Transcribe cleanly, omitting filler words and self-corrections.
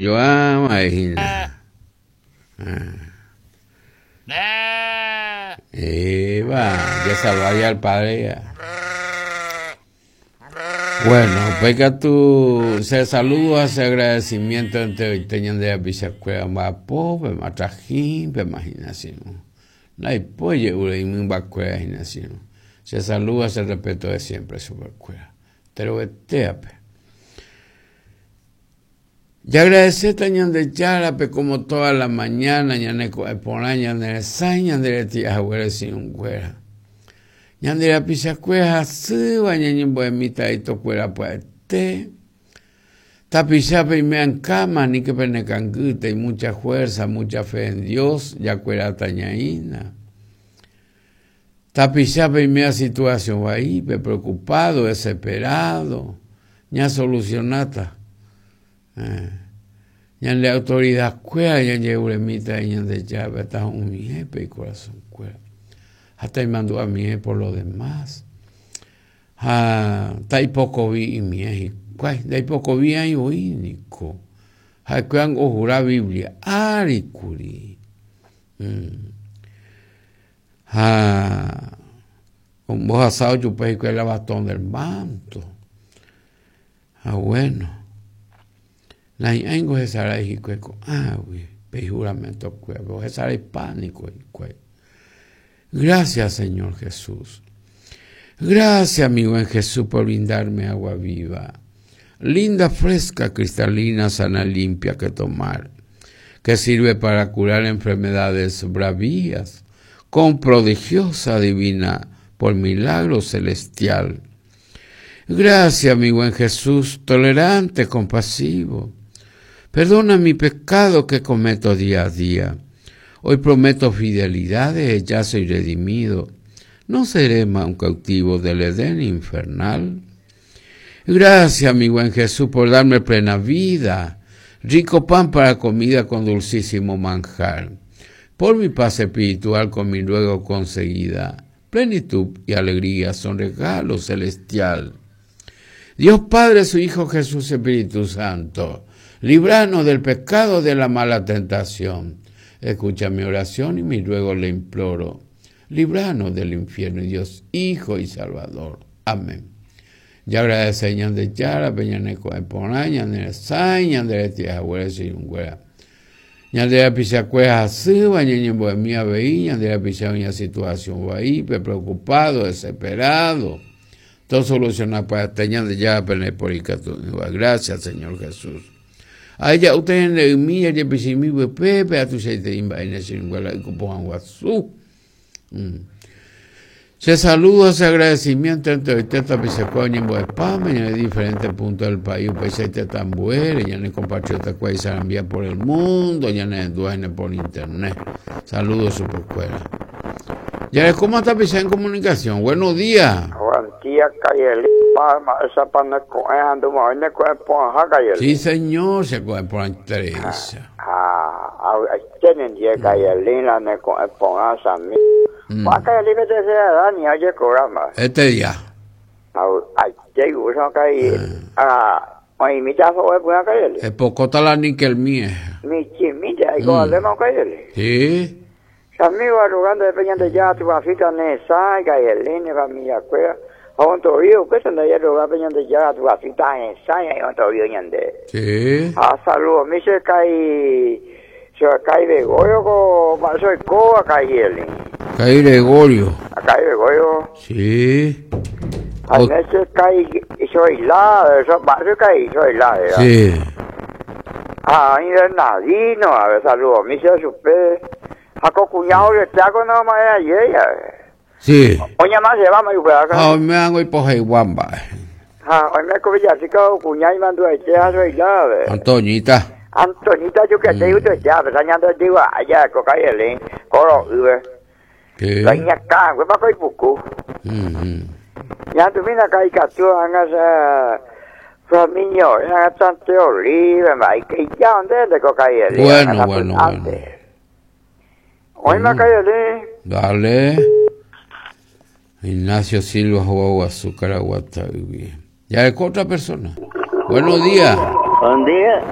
Joama hína. Eva, ya salvaría al padre ya. Bueno, upéi katu che saludo ha che agradecimiento enteroite ñande rapichakuéra mba'apo, pema trajín, pema hína che irũ. Ndaipói je'úre imymbakuéra hína che irũ. Che saludo ha che respeto de siempre chupekuéra. Enterovetéape. Jagradecéta Ñandejárape como toda la mañana ñane ko'ẽ porã ñane resãi ñande reti'a haguére chi'ũnguéra. Ñande rapichakuéra hasýva ñañembo'emíta itokuéra pya'ete. Tapicha peime ankáma aníke pene kangýtei, mucha fuerza, mucha fe en Dios, jakueráta ñaína. Tapicha peiméva situación vaípe, preocupado, desesperado, ñasolucionáta. Eh, ñande autoridad kuéra ñajeruremíta Ñandejárape tahu'ũmiépe icorazón kuéra. Ha taimandu'amiẽ por lo demás. Ha taipokovi imiẽ hikuái, ndaipokovi aĩ voi niko. Ha'ekuéra ohura Biblia ári kuri. Mm. Ha ombohasa ojupe hikuái la bastón del manto. Ha bueno, nahi'ãingo hesarái hikuái ko'águi pe ijuramento kuérape, ohesaraipa niko hikuái. Gracias, Señor Jesús. Gracias, mi buen Jesús, por brindarme agua viva. Linda, fresca, cristalina, sana, limpia que tomar que sirve para curar enfermedades bravías, con prodigiosa divina, por milagro celestial. Gracias, mi buen Jesús, tolerante, compasivo. Perdona mi pecado que cometo día a día. Hoy prometo fidelidades, ya soy redimido. No seré más un cautivo del Edén infernal. Gracias, mi buen Jesús, por darme plena vida, rico pan para comida con dulcísimo manjar, por mi paz espiritual con mi luego conseguida. Plenitud y alegría son regalo celestial. Dios Padre, su Hijo Jesús, Espíritu Santo, libranos del pecado de la mala tentación. Escucha mi oración y mi ruego le imploro. Libranos del infierno, Dios, Hijo y Salvador. Amén. Jagradece Ñandejárape ñane ko'ẽ porã, ñane resãi, ñande retĩ haguére che irũnguéra. Ñande rapichakuéra hasýva, ñañembo'emi avei, ñande rapicha oĩva situación vaípe, preocupado, desesperado. Tosoluciona pya'ete Ñandejárape ndaiporikatu'ỹva. Gracias, Señor Jesús. Aheja'úta ñande ymi jajepichĩmi vypépe ha tuichaiterei mba'e ñane che irũnguéra ykupohã guasu. Mm. Che saludo, che agradecimiento enteroite tapichakuéra oñembo'epáme ñane diferente punto del país, upeichaite tambuére, ñane compatriota kuéra isarambia por el mundo, ñane rendúva hína por internet. Saludo chupekuéra. Jarekóma tapicha en comunicación. Buenos días. Buen día, Cayeli. Palma, esa pa ne ko'ẽ ha nduma'õi ne ko'ẽ porãha, Cayeli. Sí, señor, che ko'ẽ porãitereícha. Ha avy'aite nendie, Cayeli, la ne ko'ẽ porã, Sami. Ko'ã Cayeli pe tercera edad ni ojekoráma. Este día. Avy'aite igúsama, Cayeli. Ah, oĩmíta so'o py'ã, Cayeli. Epokóta la níquel mie. Michĩmínte aiko valéma, Cayeli. Sí. Che amigo arrogante pe Ñandejára Tupãsýta ne hesãi, Cayeli, ne familia-kuéra, ha ontovi upéicha ndaje arroga pe Ñandejára Tupãsýta hesãi ha ontovi ñande. Sí. Ha saludomi che kai, che kai Gregorio ko mba'e che oikóva Cayeli. Kai Gregorio. Kai Gregorio. Sí. Ha ne che kai Zoila, eso mba'e che kai Zoila era. Sí. Ha oĩ Bernardino, a ver, saludomi che chupe. Ha ko kuña oreteáko no ma'ẽ aye jave. Sí. Oñama che va mai upéva. Ha oime ángo ipoheigua mba'e. Ha oime ko Villarrica kuña imandu'aite ha Zoila ave. Antoñita. Antoñita jukete utuetea, pesa ñande jyva aja ko Cayeli, koro'ýve. Sí. La iñakãnguépa ko ipuku. Ñandumína ka ikatu ág̃a che Flaminio, ág̃a Tanteo Olive, mba'e ija ndénte ko Cayeli. Bueno, bueno, bueno. Oĩma Cayeli. Dale. Ignacio Silva Guaguasu Caraguatá yvy. Ya es otra persona. Buenos días. Buen día.